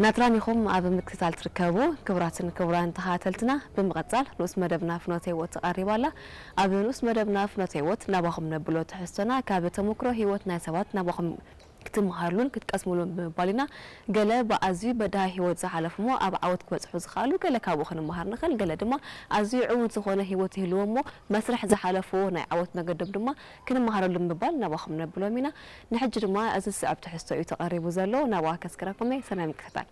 ናትራን ኢኹም ኣብ ምክትታል ትርከቡ። ክቡራትን ክቡራን ተኸታተልትና፣ ብምቕጻል ንኡስ መደብና ፍኖተ ህይወት ትቐሪብ ኣላ። ኣብ ንኡስ መደብና ፍኖተ ህይወት ናባኹም ነብሎ ትሕዝቶና ካብ ተሞክሮ ህይወት ናይ ሰባት ናባኹም ክትመሃርሉን ክትቀስምሉን ብምባል ኢና። ገለ ብኣዝዩ በዳሂ ህይወት ዝሓለፉ እሞ ኣብ ዓወት ክበጽሑ ዝኸኣሉ ገለ ካብኡ ክንመሃር ንኽእል፣ ገለ ድማ ኣዝዩ ዕዉት ዝኾነ ህይወት ይህልዎ እሞ መስርሕ ዝሓለፍዎ ናይ ዓወት መገዶም ድማ ክንመሃረሉ ብምባል ናባኹም ነብሎም ኢና። ንሕጂ ድማ እዚ ዝስዕብ ትሕዝቶ እዩ ተቐሪቡ ዘሎ። ናብኣ ከስክረኩም እየ። ሰናይ ምክትታል።